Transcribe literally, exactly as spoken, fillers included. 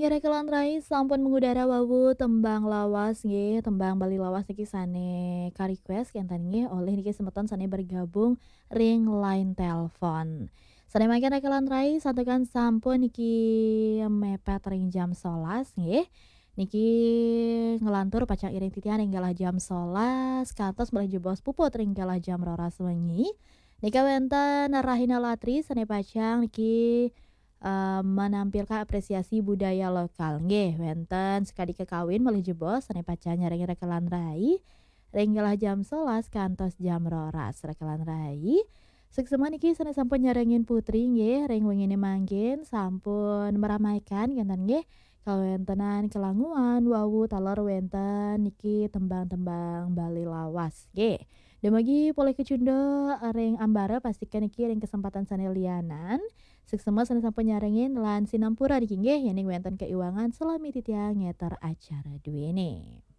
Rekan lan rai, sampun mengudara wau tembang lawas nggih, tembang Bali lawas niki sane ka-request kenten nggih oleh niki semeton sane bergabung ring line telepon. Sane mangkin rekan lan rai, santukan sampun niki mepet ring jam solas nggih. Niki nglantur pacang iring titiang ring galah jam solas, kantos malih jebos puput ring galah jam roras wengi. Nika wenten Rahina Latri sane pacang niki eh, menampilkan apresiasi budaya lokal. Nggih, wenten sekadi kekawin malih jebos sane pacang nyarengin rekan lan rai ring galah jam solas kantos jam roras rekan lan rai. Suksma niki sane sampun nyarengin Putri nggih ring wengine mangkin sampun meramaikan kenten nggih kawentenan kelanguan wau taler wenten niki tembang-tembang Bali lawas nggih. Dumugi polih kacunduk ring ambara, pastikan niki ring kesempatan sane lianan suksma sane sampun nyarengin lan sinampura niki nggih yening wenten kaiwangan salami titiang ngeter acara duene.